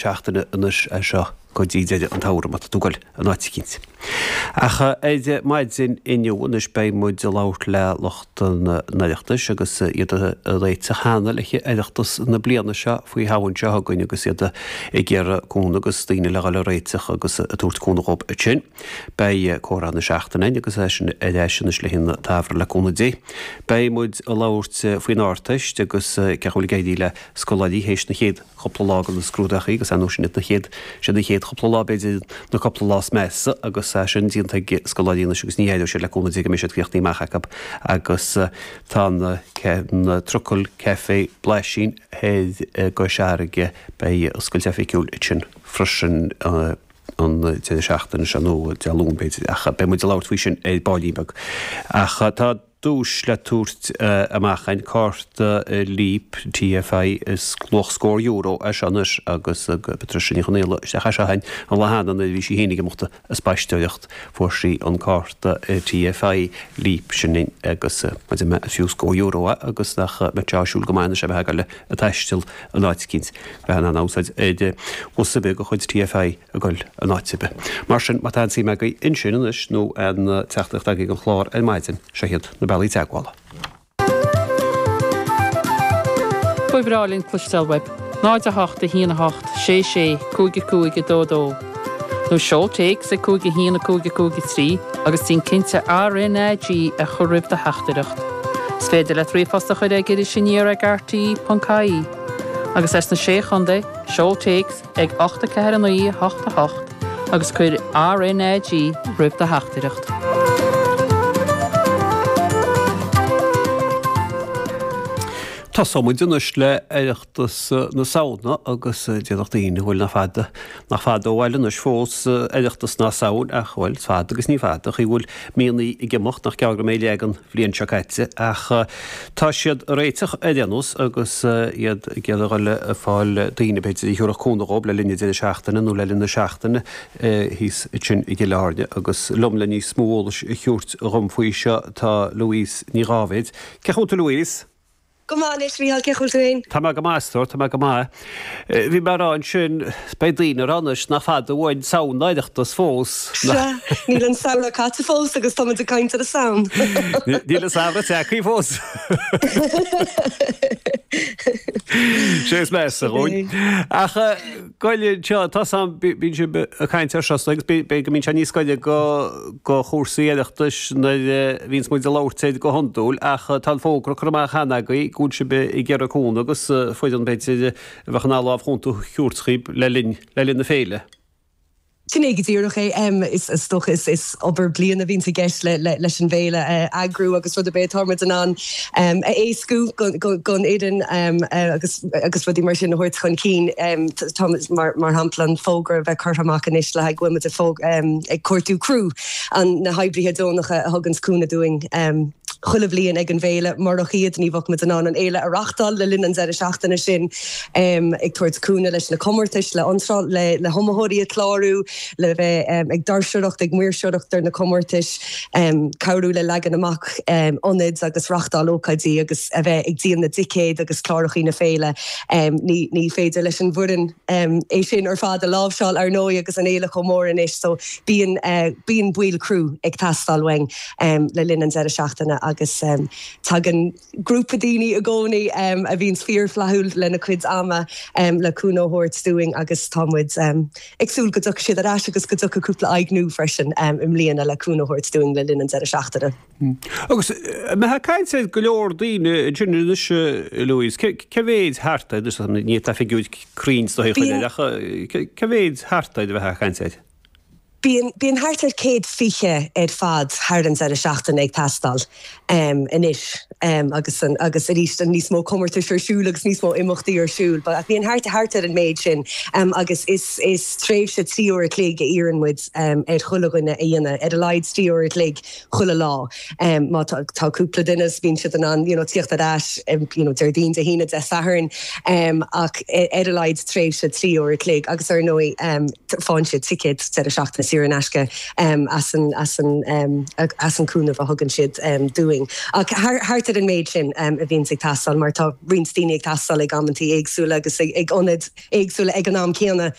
Seachtaine anois as seo go dtí deireadh an tsamhraidh má tá tú ag goil in áit eicínt. Ach ar maidin inniu anois beidh muid ag labhairt le lucht an Oireachtais agus iad ag réiteach cheana le haghaidh Oireachtas na bliana seo faoi Shamhain seo chugainn agus iad ag iarraidh cúnamh agus daoine le dhul ag réiteach agus ag tabhairt cúnamh dhóibh ansin. Beidh comhrá na seachtaine againn agus é sin ar ais anois le haghaidh an tsamhraidh le cúnamh Dé. Beidh muid ag labhairt faoin Ardteist agus cén chaoi a bhfuil ag éirí le scoláirí théis na chéad chúpla lá de na scrúdachaí agus ar ndóigh sin iad na chéad, siad na chéad chúpla lá b'fhéidir na cúpla lá is measa agus é sin déanta ag scoláirí anois agus ní éireoidh siad le cúnamh Dé go mbeidh siad críochnaithe amach acu agus tá na na Trucail Caife Blaisín thoir i gCois Fharraige beidh oscailt oifigiúil ansin freisin an deireadh seachtaine seo nó Dé Luain b'fhéidir ach beidh muid ag labhairt faoi sin ar baillín beag ach tá duais le tabhairt amach againn, cárta Leap TFI is luach scór euro é seo anois agus Patricia Ní Chonaola isteach é seo againn an lá cheana nuair a bhí sí féin ag imeacht ag spaisteoireacht fuair sí an cárta TFI Leap sin agus maidir le fiú scór euro é agus nach mbeadh sé áisiúil go maith anois a bheith ag dul ag taisteal in áit eicínt bheith in ann úsáid ar bhus ar bith de chuid TFI. ag goil in áit ar bith. Mar sin, má tá aon suim agaibh ansin anois nó aon teachtaireacht agaibh don chlár ar maidin, seo iad na bealaí teagmhála. Ba bhreá linn cloisteáil uaibh. 0 8 1 8 6 6 5 5 2 2 Nó seol téacs ag 5 1 5 5 3 agus déan cinnte RnaG a chur roimh do theachtaireacht. Is féidir leat ríomhphost a chur ag irisaniar ag rte.ie. Agus as na Sé Chontae, seol téacs ag 8 4 9 8 8 agus cuir RnaG roimh do theachtaireacht. Tosóidh muid anois le Oireachtas na Samhna agus déarfadh daoine, bhuel nach fada, nach fada ó bhaile anois fós Oireachtas na Samhna ach bhuel is fada agus ní fada, chaoi bhfuil míonna ag imeacht nach gearr go mbeidh leath den bhliain seo caite ach tá siad ag réiteach ar aon nós agus iad ag iarraidh a dhul ag fáil daoine b'fhéidir a thiúrfadh cúnamh dhóibh le linn an deireadh seachtaine nó le linn na seachtaine thíos ansin i gCill Airne agus liom le níos mó eolais a thabhairt dhom faoi seo tá Louise Ní Dháibhéid. Cén chaoi a bhfuil tú Louise? Go maith anois, Mícheál, cén chaoi a bhfuil tú féin? Tá mé go maith, a stór, tá mé go maith. Bhí mé ag rá ansin, beidh daoine ag rá anois nach fada uainn Samhain ná Oireachtas fós. Sea, níl an samhradh caite fós agus tá muid ag caint ar an Samhain. Níl an samhradh tagtha fós. Sé is measa dhúinn. Ach Goil anseo, tá 's a'm, bíonn sibh ag caint air seo agus b'fhéidir go mbíonn sé níos gaire go chúrsaí Oireachtais nuair a bhíonns muid ag labhairt air go hiondúil ach tá an fógra curtha amach cheana agaibh go bhfuil sibh ag iarraidh cúnamh agus foireann b'fhéidir a bheadh in ann lámh chúnta a thabhairt dhaoib le linn le linn na féile. Sin é go díreach é. Is dócha is obair bliana a bhíonns i gceist leis an bhféile a eagrú agus rud ar bith atá muid in ann a éascú don fhoireann agus agus rudaí mar sin a thabhairt chun cinn. Tá mar shampla an fógra a bheith curtha amach anois le haghaidh go bhfuil muid ag cuartú criú, na hoibrithe deonacha a thuganns cúnamh dúinn chuile bhliain ag an bhféile. Murach iad ní bheadh muid in ann an fhéile a reachtáil le linn an deireadh seachtaine sin. ag tabhairt cúnamh leis na comórtais, le hiontráil, le hiomaitheoirí a chlárú, le bheith ag doirseoireacht, ag maoirseoireacht ar na comórtais, cabhrú le leagan amach ionaid agus reachtáil ócáidí agus a bheith ag díol na dticéad agus clárachaí na féile. Ní féidir leis an bhfoireann é sin ar fad a láimhseáil, ar ndóigh, agus an fhéile chomh mór anois so bíonn bíonn baill criú ag teastáil uainn le linn an deireadh seachtaine agus tagann grúpa daoine i gcónaí a bhíonns fíorfhlaithiúil lena cuid ama le cúnamh a thabhairt dúinn agus tá muid ag súil go dtiocfaidh siad ar ais agus go dtiocfaidh cúpla aghaidh nua freisin i mbliana le cúnamh a thabhairt dúinn le linn an deireadh seachtaine. Agus an mbeifeá ag caint ar go leor daoine ansin anois, Louise, cé mhéid thart air, ní tá figiúir cruinn sna haon ach cé mhéid thart air a bheifeá ag caint air? Bíonn, bíonn thart ar 120 ar fad thar an deireadh seachtaine ag teastáil anois agus an, agus arís níos mó comórtais ar siúl agus níos mó imeachtaí ar siúl but bíonn thart, thart ar an méid sin agus is, is tréimhse 3 uair a chloig a iarrann muid ar chuile dhuine a dhéanamh, ar a laghad 3 uair a chloig chuile lá. Má tá, tá cúpla duine is bíonn siad in ann you know tíocht ar ais you know Déardaoin, Dé hAoine, Dé Sathairn ach ar a laghad tréimhse 3 uair a chloig agus ar ndóigh faigheann siad ticéad deireadh seachtaine. saor in aisce as an as an as an cúnamh a thugann siad dúinn. Ach thart ar an méid sin a bhíonns ag teastáil mar tá roinnt daoine ag teastáil ag amantaí éagsúla agus ag ionaid éagsúla ag an am céanna.